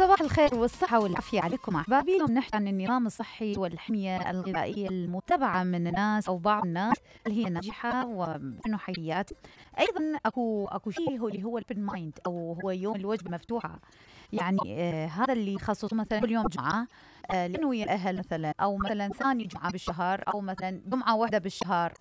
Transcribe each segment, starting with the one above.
صباح الخير والصحة والعافية عليكم أحبابي. اليوم نحكي عن النظام الصحي والحمية الغذائية المتبعة من الناس أو بعض الناس اللي هي ناجحة وإنه حيات. أيضا أكو شيء اللي هو البن مايند أو هو يوم الوجبة المفتوحة. يعني هذا اللي يخصص مثلا كل يوم جمعة لأنه ويا الأهل مثلا، أو مثلا ثاني جمعة بالشهر، أو مثلا جمعة واحدة بالشهر.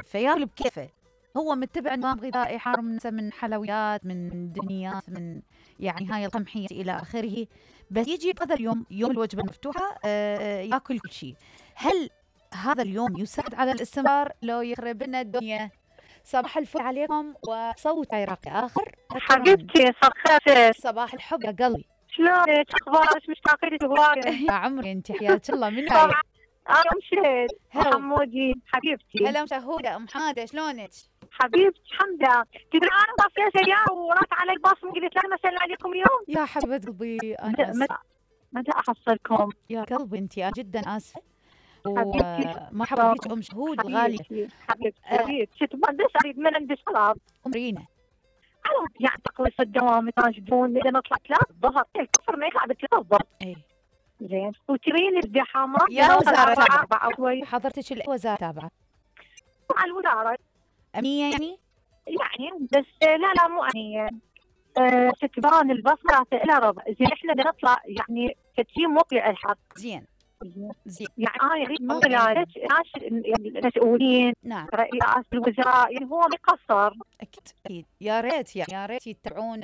فياكل بكيفه، هو متبع نظام غذائي حار من حلويات، من دنيات، من يعني هاي القمحية إلى آخره. بس يجي هذا اليوم يوم الوجبة المفتوحة ياكل كل شيء. هل هذا اليوم يساعد على الاستمرار لو يخرب لنا الدنيا؟ صباح الفل عليكم وصوت عراقي آخر. حبيبتي صخرتك. صباح الحب يا قلبي، شلونك؟ اخبارك؟ مشتاقة لك هواية. يا عمري انت حياك الله. من هاي؟ انا مشهد حمودي حبيبتي. هلا مشهودة ام حمادة، شلونك؟ حبيبتي الحمد لله. تدري انا طفيت اياه ورات علي الباص قلت لا مسألة عليكم اليوم. يا حبيبة قلبي انا متى احصلكم؟ يا قلبي انت جدا اسفة. حبيبتي ومرحبا بك ام شهود الغالية. حبيبتي شفت ما ندش اريد من عند الشباب امرينا يعني تقويص الدوام يناشدون اذا نطلع 3 الظهر الكفر ما يطلع ب3 الظهر. اي زين وترين الزحامة يا وزارة 4 شوي. حضرتك الوزارة تابعة مع الوزارة أمنية يعني بس لا مو أمنية. تتبان البصمة إلى ربع. زين احنا بدنا نطلع يعني كتشي موقع الحق. زين يعني أنا أريد من خلالك المسؤولين، نعم، رئيس الوزراء، يعني هو مقصر. أكيد يا ريت يتبعون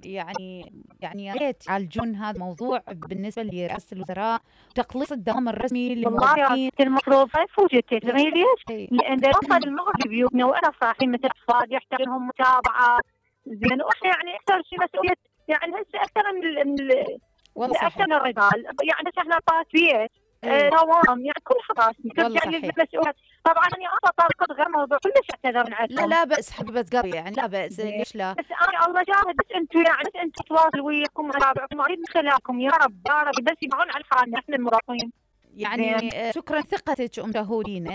يعني يا ريت يعالجون هذا الموضوع بالنسبة لرئاسة الوزراء، تقليص الدوام الرسمي للموظفين. والله المفروض ما يفوتك تدري ليش؟ لأن دراسة المغرب بيوتنا وأنا صاحي مثل أطفال يحتاج لهم متابعة. زين وإحنا يعني أكثر شيء مسؤولية يعني هسه أكثر من أكثر من الرجال. يعني بس احنا طاس بيت دوام يعني كل حراس ترجع للمسؤوليات. طبعا انا طارقت غير موضوع كلش اعتذر من عندكم. لا بأس حبيبة قلبي، يعني لا بأس، ليش لا؟ بس انا الله جاهد. بس انتم يعني انتم تواصلوا وياكم وتابعكم اريد من خلالكم يا رب بس يبعون عن حالنا احنا المراقبين. يعني شكرا ثقتك ام شهودينا،